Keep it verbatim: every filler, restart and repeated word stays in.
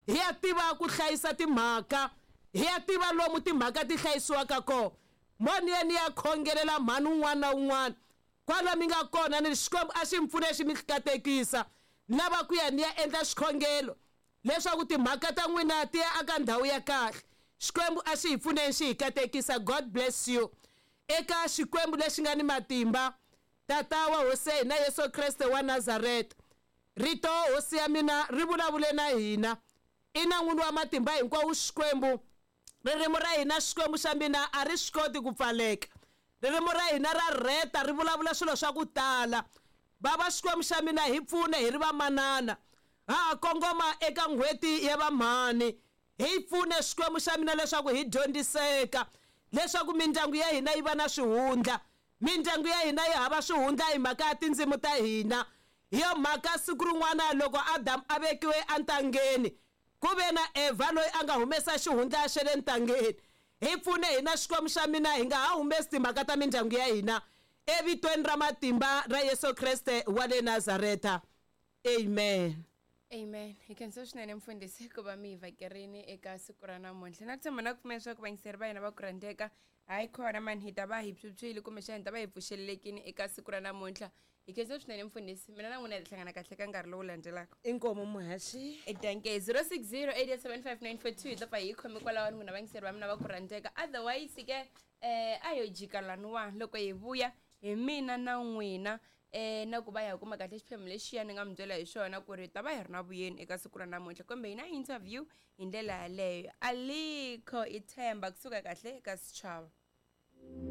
Hi ya tiva ku hlayisa timhaka, hi ya tiva lomu timhaka ti hlayisiwaka kona. Mo ni ya ni ya khongelela mhani un'wana na un'wana kwala mi nga kona, ni Xikwembu a xi mi pfune xi mi katekisa. Ni lava ku ya ni ya endla xikhongelo leswaku timhaka ta n'wina ti ya aka ndhawu ya kahle. Xikwembu a xi hi pfuneni xi hi katekisa. God bless you. Eka Xikwembu lexi nga ni matimba, Tata wa Hosi ya hina Yesu Kreste wa Nazareta, rito Hosi ya mina ri vulavule na hina. Ina n'wini wa matimba hinkwawo Xikwembu, ririmi ra hina Xikwembu xa mina a ri swi koti ku pfaleka. Ririmi ra hina ra rheta, ri vulavula swilo swa ku tala. Bava Xikwembu xa mina, hi pfune hi ri vamanana, ha ha kongoma eka n'hweti ya vamhani. Hi pfune Xikwembu xa mina leswaku hi dyondziseka, leswaku mindyangu ya hina yi va na swihundla. Mindyangu ya hina yi hava swihundla hi mhaka ya tindzimi ta hina. Hi yo mhaka siku rin'wana loko Adamu a vekiwe entangeni, ku ve na Evha loyi a nga humesa xihundla xa le ntangeni. Hi pfune hina Xikwembu xa mina, hi nga ha humesi timhaka ta mindyangu ya hina, evitweni ra matimba ra Yesu Kreste wa le Nazareta. Amen. Amen. Hi khensa swinene mfundhisi ku va mi hi vhakerini eka siku ra namuntlha. Na ku tshemba na ku pfumela leswaku vayingiseri va hina va ku rhandzeka, hayi khona mani hi ta va hi phyuphyile kumbexana hi ta va hi pfuxelelekini eka siku ra namuntlha. Hi khensa swinene mfundhisi, mina na n'wina hi ta hlangana kahle ka nkarhi lowu landzelaka. Inkomu muhaxi. Danke. zero six zero eight eight seven five nine four two hi ta pfa hi khome kwalaho n'wina vayingiseri va mina va ku rhandzeka. Otherwise ke eh a yo jika laniwa loko hi vuya hi mina na n'wina eh na ku va hi kuma kahle xiphemu lexiya ni nga mi byela hi xona ku ri ta va hi ri na vuyeni eka siku ra namuntlha, kumbe hi na interview hi ndlela yaleyo. Alikho ithemba kusuka kahle eka Sechaba.